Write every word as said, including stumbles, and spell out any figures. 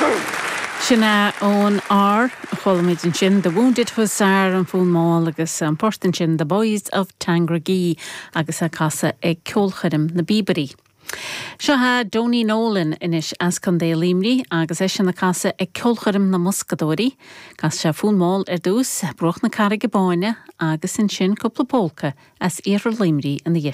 Sin é ón R chuala muid ansin The Wounded Hussar an fonn mall agus an port ansin The Boys of Tandragee agus á chasadh ag ceolchoirm na bPíobairí. Seo é Donie Nolan anois as Contae Luimnigh agus eisean ag casadh ag ceolchoirm na mBoscadóirí, Chas sé fonn mall ar dtús Bruach na Carraige Báine agus ansin cúpla pólca as iarthar Luimnigh ina dhiaidh.